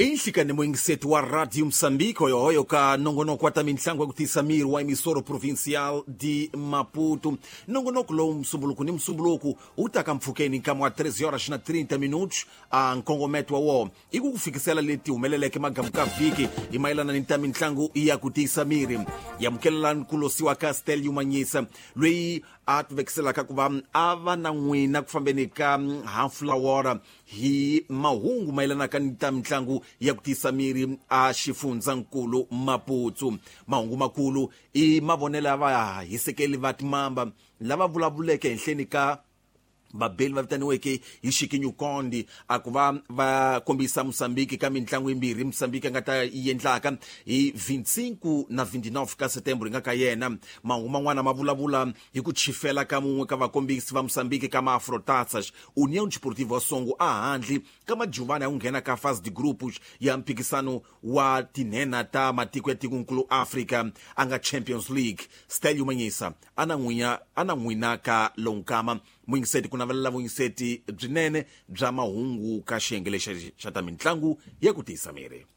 Inhlikani muyingiseti wa Radio Moçambique, hoyohoyo ka nongonoko wa ta mintlangu ya ku tiyisa miri wa Emissora Provincial de Maputo. Nongonoko lowu Musumbuluku ni Musumbuluku wu ta ka mpfhukeni nkama wa 13 horas na 30 minutos. A nkongometo wa wona i ku ku fikisela leti humeleleke magamu ka vhiki hi mayelana ni ta mintlangu ya ku tiyisa miri. Yamukelelani ku losiwa ka Stelio Manyisa, loyi a tivekiselaka ku va a va na n'wina ku fambeni ka hafu lawora hi mahungu mayelanaka ni ta mitlangu ya ku tiyisa miri a xifundzankulu Maputo. Mahungu makulu i mavonelo ya vahisekeli va timamba lava vulavuleke henhleni ka vabeli va vitaniweke hi Xikinyukondi, a ku va va kombisa Mosambiki ka mitlangu yimbirhi Mosambiki a nga ta yi endlaka hi 25 na 29 ka Setembro hi nga ka yena. Mahungu man'wana ma vulavula hi ku chifela ka mun'we ka vakombisi va Mosambiki ka Maafrotatsas União Desportiva wa Songo a handle ka majuvana ya ku nghena ka fase de grupos ya mphikisano wa tinhena ta matiko ya tikonkulu Africa a nga Champions League. Stelio Manyisa a na n'winya a na n'wina ka lonkama muyingiseti ku navelela vuyingiseti byinene bya mahungu ka xiyenge lexi xa ta mitlangu ya ku tiyisa miri.